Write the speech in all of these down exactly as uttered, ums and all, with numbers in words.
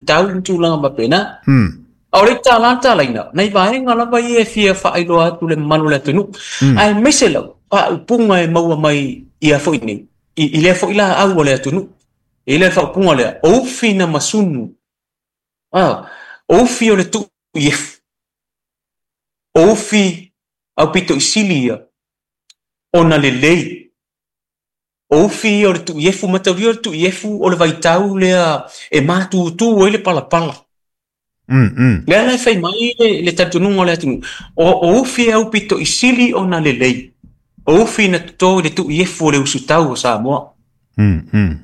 tau ma tulaga faapena. Mm. A o le tala talaina, nai vaega lava ia e fia faailoa atu le mamalu o le atunuu. Mm. Aemaise lava faaupuga e maua mai ia foi nei, i, i lea foi laau o le atunuu. E i le faaupuga lea, o ufi na masunu. Ah, o ufi o le tuu iefu. O ufi au pito i sili ia, ona lelei. O ufi ia o le tuu iefu, mataulia o le tuu iefu o le vaitau lea e matutu ai le palapala. Mm, mm. Lea la e fai mai le, le talitonuga o le atunuu. O, o ufi au pito i sili ona lelei. O ufi na toto i le tuu iefu o le usutau o Samoa. Mm, mm.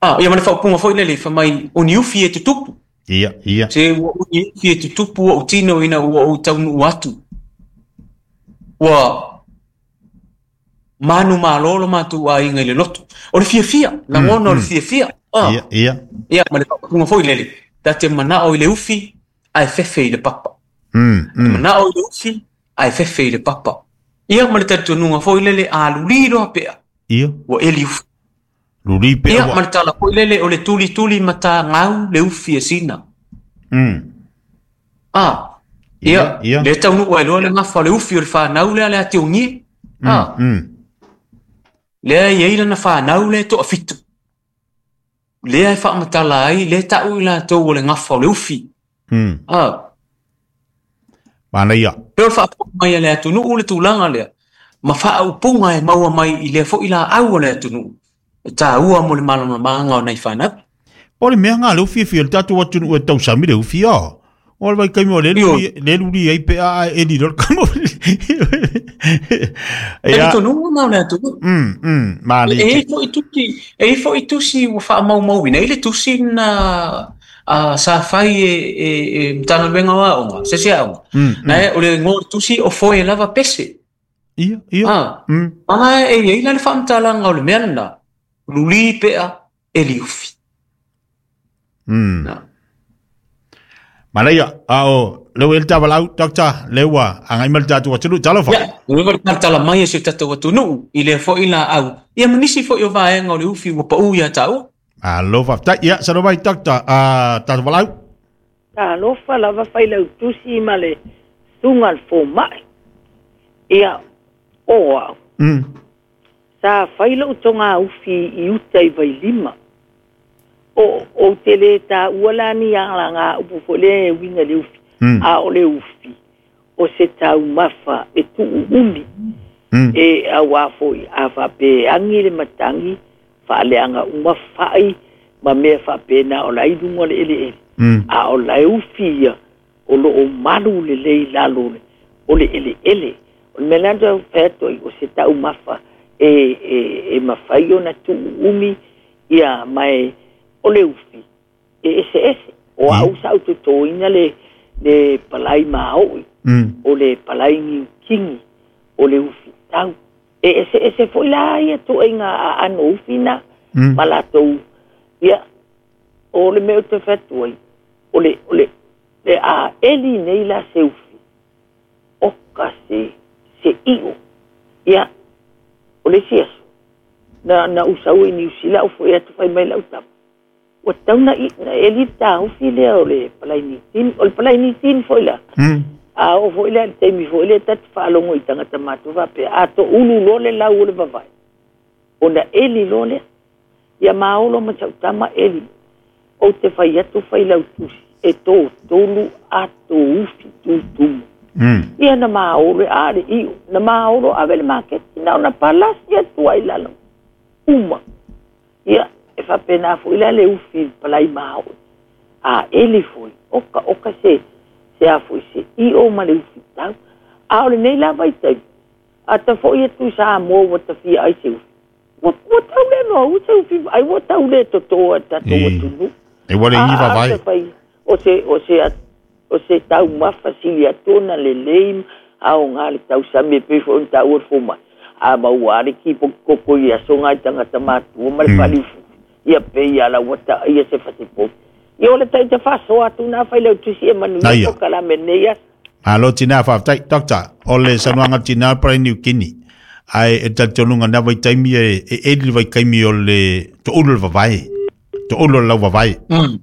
Ah, ia ma le faaupuga foi lele, fai mai, o ni ufi e tutupu. Ia, ia. Se ua uni ufi e tutupu ua utino ina ua ou taunuu atu. Ua manu malo lo matou aiga i le loto. O le fiafia, lagona o le fiafia. Ah. Ia, ia. Ia, ma le faaupuga foi lele, ta te manao i le ufi, ae fefe i le papa. Mm, mm. Manao i le ufi, ae fefe i le papa. Ia ma le talitonuga foi lele, a luli loa pea. Ia. Ua eli ufi. Luli pea Ia, ua. ma le tala foi lele, o le tulituli matagau le ufi e sina. Mm. Ah. Ia, Ia, ia. le taunuu ai loa le gafa o le ufi o le fanau lea le atiogie. Ah. Mm. Lea e i ai lana fanau lea e toafitu. Lea e faamatala ai, lea tau i latou o le gafa o le ufi. Mm. Ah. Manaia. Pe o le faafofoga mai a le atunuu le tulaga lea, ma faaupuga e maua mai i lea foi laau o le atunuu. E taua mo le malamalamaga o nai fanau. Po le mea ngā le ufi e fia le tatou atunuu e tausami le ufi a. O le vaitaimi o le Io. luli, le luli ai pe a e li lor kamo. E Ia. talitonuga na o le atunuu. Mm, mm, manaia. E i foi tusi, e i foi tusi ua faamaumauina, i le tusi na a sa fai e, e, e Matagaluega o Aoga, se se aoga. Mm, mm. Na e, o le igoa o le tusi o foe lava pese. Ia, ia. Ah. Mm. Ana e i ai la le faamatalaga o le mea lena, luli pea e liufi. Mm. Na. Manaia, a o le ua ele tavalau, doctor, le ua angai ma le tatou atunuu, talofa. Ia, le ua talatala mai e si o tatou atunuu, i lea foi laau. Ia ma nisi foi o vaega o le ufi ua pau ia tāua. Alo, faafetai. Ia, salo mai, doctor, ah, tatou valaau. Talofa lava fai lau tusi ma le suga le fomai. Ia, o au. Mm. Sa fai lou toga ufi i uta i Vailima. O, o te le taua la ni alaga upu foi lea e uiga le ufi. Mm. A o le ufi, o se taumafa e tuu umi. Mm. E auā foi a faapea e agi le matagi, faaleaga uma fai, ma mea faapena o la i luga o le eleele. Mm. A o la e ufi ia, o loo malu lelei lalo le, o le eleele. O le mea lea na toe fai atu ai, o se taumafa e, e, e mafai ona tuu umi, ia, ma e, o le ufi, e eseese. O au sa au totoina le, le palai maoi, Mm. o le palai niukini, o le ufi tau. E eseese foi la ia tuaiga aano ufi na, Mm. ma latou, ia, o le mea ou te fai atu ai, o le, o le, le a eli nei la se ufi, oka se, se i'o. Ia, o le isi aso, na, na usau i Niu Sila, au foi atu fai mai lau tama. Ua tau na, i, na eli le tāufi lea o le palai niutini, o le palai niutini foi la. Mm. A o foi lea le taimi foi lea tatu faalogo i tagata matua faapea, a toulu loa le lau o le vavae. Ona eli loa lea. Ia maolo ma sau tama eli. Ou te fai atu fai lau tusi, e totolu ato ufi tutumu. Mm. Ia na maolo e a le i'o, na maolo ave le maketi, na ona palasi atu ai lalo. Uma. Ia, e faapena foi la le ufi i le palai maoi. A eli foi, oka oka se, se a foi se i'o ma le ufi tau. A o lenei lava i taimi, a ta foi atu i Samoa ua tafia ai se ufi. Ua, ua tau le noa u se ufi, ai ua tau le totoa e tatou E. atunuu. E ua le A, i a, vavae. se fai, o se, o se, o se taumafa sili atu ona lelei, aoga le tausami e pei foi ona taua le fomai. A maua a le kipo koko i aso ngai tagata matua ma le Mm. faliufu. Ia pe ia la ua taia se fasipovi. Ia o le taita faasoa atu na fai lau tusi e manuia Aia. po kalame nei aso. Malo tina faafetai, doctor, o le saunoaga tina palai Niukini. Ae e talitonuga na vaitaimi e, e eli le vaitaimi o le toulu le vavae. Toulu o le lau vavae. Mm.